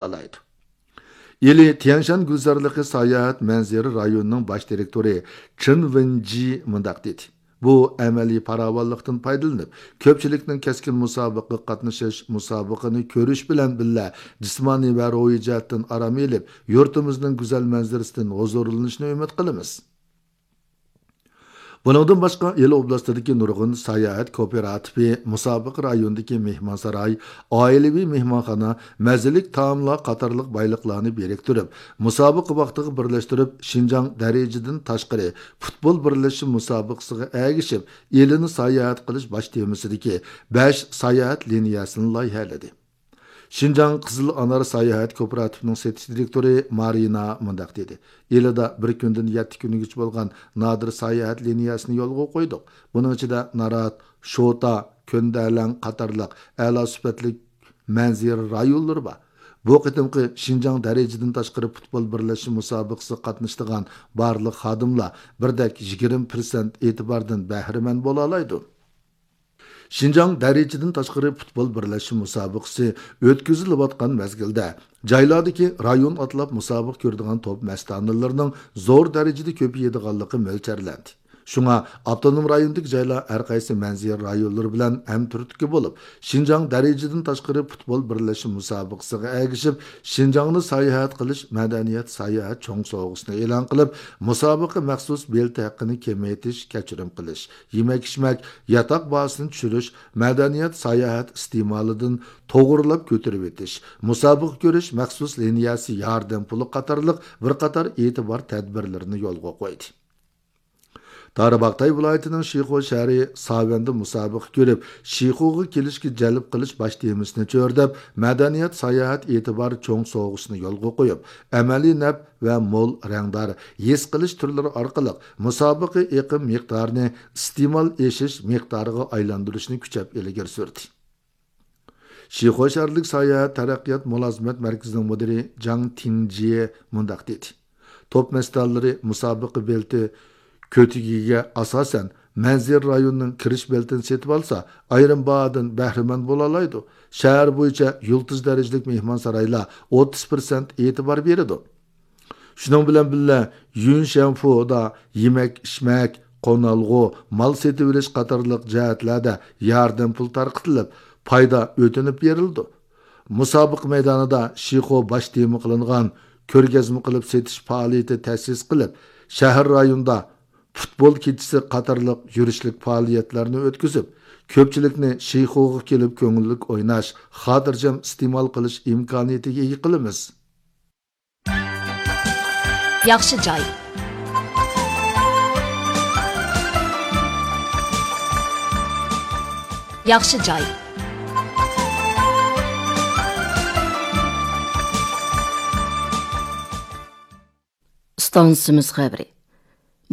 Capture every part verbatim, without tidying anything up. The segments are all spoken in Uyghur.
ئالالايدۇ. ئىلى تيەنشان گۈلزارلىقى ساياھەت مەنزىرە رايونىنىڭ باش دىرېكتورى چېن ۋېنجى مۇنداق دېدى: بۇ ئەمەلىي پاراۋانلىقتىن پايدىلىنىپ، كۆپچىلىكنىڭ كەسكىن مۇسابىقىگە قاتنىشىش، مۇسابىقىنى كۆرۈش بىلەن بىللە، جىسمانىي ۋە روھىي جەھەتتىن ئارام ئېلىپ، يۇرتىمىزنىڭ گۈزەل مەنزىرىسىدىن ھۇزۇرلىنىشىنى ئۈمىد قىلىمىز. بۇنىڭدىن باشقا، ئىلى ئوبلاستىدىكى نۇرغۇن ساياھەت كوپىراتىپى مۇسابىقە رايونىدىكى مېھمانساراي، ئائىلىۋى مېھمانخانا، مەززىلىك تائاملار قاتارلىق بايلىقلارنى بىرىكتۈرۈپ، مۇسابىقە ۋاقتىغا بىرلەشتۈرۈپ، شىنجاڭ دەرىجىدىن تاشقىرى پۇتبول بىرلەشمە مۇسابىقىسىغا ئەگىشىپ، ئىلىنى ساياھەت قىلىش باش تېمىسىدىكى بەش ساياھەت لىنىيەسىنى لايىھەلىدى. شىنجاڭ قىزىل ئانار ساياھەت كوپىراتىپىنىڭ سېتىش دىرېكتورى مارىنا مۇنداق دېدى: ئىلىدا بىر كۈندىن يەتتە كۈنگىچە بولغان نادىر ساياھەت لىنىيەسىنى يولغا قويدۇق. بۇنىڭ ئىچىدە نارات، شوتا، كۆندەلەڭ قاتارلىق ئەلا سۈپەتلىك مەنزىرە رايونلىرى بار. بۇ قېتىمقى شىنجاڭ دەرىجىدىن تاشقىرى پۇتبول بىرلەشمە مۇسابىقىسىگە قاتنىشىدىغان بارلىق خادىملار بىردەك يىگىرمە پىرسەنت ئېتىباردىن بەھرىمەن بولالايدۇ. شىنجاڭ دەرىجىدىن تاشقىرى پۇتبول بىرلەشمە مۇسابىقىسى ئۆتكۈزۈلۈۋاتقان مەزگىلدە، جايلاردىكى رايون ئاتلاپ مۇسابىقە كۆرىدىغان توپ مەستانىلىرىنىڭ زور دەرىجىدە كۆپىيىدىغانلىقى مۆلچەرلەندى. شۇڭا ئاپتونوم رايوندىكى جايلار ھەرقايسى مەنزىرە رايونلىرى بىلەن ھەمتۈرتكە بولۇپ، شىنجاڭ دەرىجىدىن تاشقىرى پۇتبول بىرلەشمە مۇسابىقىسىغا ئەگىشىپ، شىنجاڭنى ساياھەت قىلىش مەدەنىيەت ساياھەت چوڭ سوۋغىسىنى ئېلان قىلىپ، مۇسابىقە مەخسۇس بېلىتى ھەققىنى كېمەيتىش، كەچۈرۈم قىلىش، يېمەك-ئىچمەك، ياتاق باھاسىنى چۈشۈرۈش، مەدەنىيەت ساياھەت ئىستېمالىدىن توغرىلاپ كۆتۈرۈۋېتىش، مۇسابىقە كۆرۈش مەخسۇس لىنىيەسى ياردەم پۇلى قاتارلىق بىر قاتار ئېتىبار تەدبىرلىرىنى يولغا قويدى. تارباغاتاي ۋىلايىتىنىڭ شىخۇ شەھىرى ساۋەندە مۇسابىقە كۆرۈپ، شىخۇغا كېلىشكە جەلپ قىلىش باش تېمىسىنى چۆرىدەپ، مەدەنىيەت ساياھەت ئېتىبار چوڭ سوۋغىسىنى يولغا قويۇپ، ئەمەلىي نەپ ۋە مول رەڭدار ھېس قىلىش تۈرلىرى ئارقىلىق مۇسابىقە ئېقىم مىقدارىنى ئىستېمال ئېشىش مىقدارىغا ئايلاندۇرۇشنى كۈچەپ ئىلگىرى سۈردى. شىخۇ شەھەرلىك ساياھەت تەرەققىيات مۇلازىمەت مەركىزىنىڭ مۇدىرى جاڭ تىڭجيې مۇنداق دېدى: توپ مەستانىلىرى مۇسابىقە بېلىتى كۆتىكىگە ئاساسەن، مەنزىرە رايونىنىڭ كىرىش بېلىتىنى سېتىۋالسا، ئايرىم باھادىن بەھرىمەن بولالايدۇ. شەھەر بويىچە يۇلتۇز دەرىجىلىك مېھمانسارايلار ئوتتۇز پىرسەنت ئېتىبار بېرىدۇ. شۇنىڭ بىلەن بىللە، يۈنشەنفۇدا يېمەك-ئىچمەك، قونالغۇ، مال سېتىۋېلىش قاتارلىق جەھەتلەردە ياردەم پۇل تارقىتىلىپ، پايدا ئۆتۈنۈپ بېرىلىدۇ. مۇسابىقە مەيدانىدا شىخۇ باش تېما قىلىنغان كۆرگەزمە قىلىپ سېتىش پائالىيىتى تەسىس قىلىپ، شەھەر رايونىدا پۇتبول كېچىسى قاتارلىق يۈرۈشلۈك پائالىيەتلەرنى ئۆتكۈزۈپ، كۆپچىلىكنى شىخۇغا كېلىپ كۆڭۈللۈك ئويناش، خاتىرجەم ئىستېمال قىلىش ئىمكانىيىتىگە ئىگە قىلىمىز. ياخشى جاي. ياخشى جاي. ئىستانسىمىز خەۋىرى.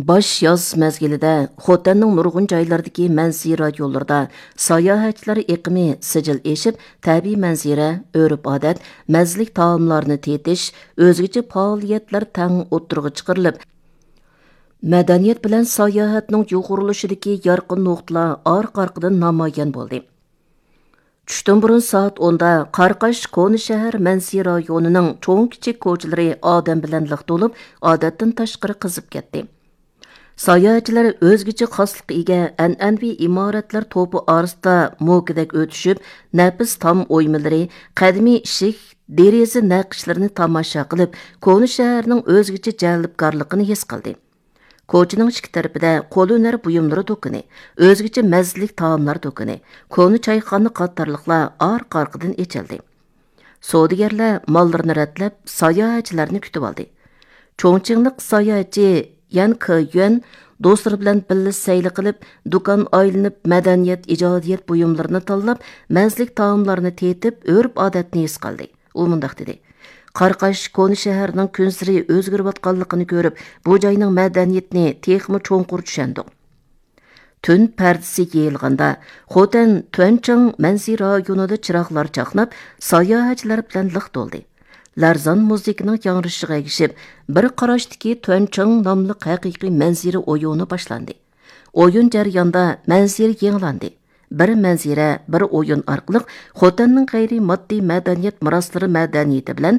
باش ياز مەزگىلىدە خوتەننىڭ نۇرغۇن جايلىرىدىكى مەنزىرە رايونلىرىدا ساياھەتچىلەر ئېقىمى سىجىل ئېشىپ، تەبىئىي مەنزىرە، ئۆرپ-ئادەت، مەززىلىك تائاملارنى تېتىش، ئۆزگىچە پائالىيەتلەر تەڭ ئوتتۇرىغا چىقىرىلىپ، مەدەنىيەت بىلەن ساياھەتنىڭ يۇغۇرۇلۇشىدىكى يارقىن نۇقتىلار ئارقا-ئارقىدىن نامايان بولدى. چۈشتىن بۇرۇن سائەت ئوندا قاراقاش كونا شەھەر مەنزىرە رايونىنىڭ چوڭ-كىچىك كوچىلىرى ئادەم بىلەن لىق تولۇپ، ئادەتتىن تاشقىرى قىزىپ كەتتى. ساياھەتچىلەر ئۆزگىچە خاسلىققا ئىگە ئەنئەنىۋى ئىمارەتلەر توپى ئارىسىدا موكىدەك ئۆتۈشۈپ، نەپىس تام ئويمىلىرى، قەدىمىي ئىشىك، دېرىزە نەقىشلىرىنى تاماشا قىلىپ، كونا شەھەرنىڭ ئۆزگىچە جەلپكارلىقىنى ھېس قىلدى. كوچىنىڭ ئىككى تەرىپىدە قول ھۈنەر بۇيۇملىرى دۇكىنى، ئۆزگىچە مەززىلىك تائاملار دۇكىنى، كونا چايخانا قاتارلىقلار ئارقا-ئارقىدىن ئېچىلدى. سودىگەرلەر ماللىرىنى رەتلەپ، ساياھەتچىلەرنى كۈتۈۋالدى. چوڭچىڭلىق ساياھەتچى يەن كېيۈەن دوستلىرى بىلەن بىللە سەيلە قىلىپ، دۇكان ئايلىنىپ، مەدەنىيەت، ئىجادىيەت بۇيۇملىرىنى تاللاپ، مەززىلىك تائاملارنى تېتىپ، ئۆرپ-ئادەتنى ھېس قىلدى. ئۇ مۇنداق دېدى: قاراقاش كونا شەھەرنىڭ كۈنسېرى ئۆزگىرىۋاتقانلىقىنى كۆرۈپ، بۇ جاينىڭ مەدەنىيىتىنى تېخىمۇ چوڭقۇر چۈشەندۇق. تۈن پەردىسى يېيىلغاندا، خوتەن تۈەنچاڭ مەنزىرە رايونىدا چىراغلار چاقناپ، ساياھەتچىلەر بىلەن لىق تولدى. لەرزان مۇزىكىنىڭ ياڭرىشىغا ئەگىشىپ، بىر قاراشتىكى تۈەنچاڭ ناملىق ھەقىقىي مەنزىرە ئويۇنى باشلاندى. ئويۇن جەريانىدا مەنزىرە يېڭىلاندى. بىر مەنزىرە، بىر ئويۇن ئارقىلىق خوتەننىڭ غەيرىي ماددىي مەدەنىيەت مىراسلىرى مەدەنىيىتى بىلەن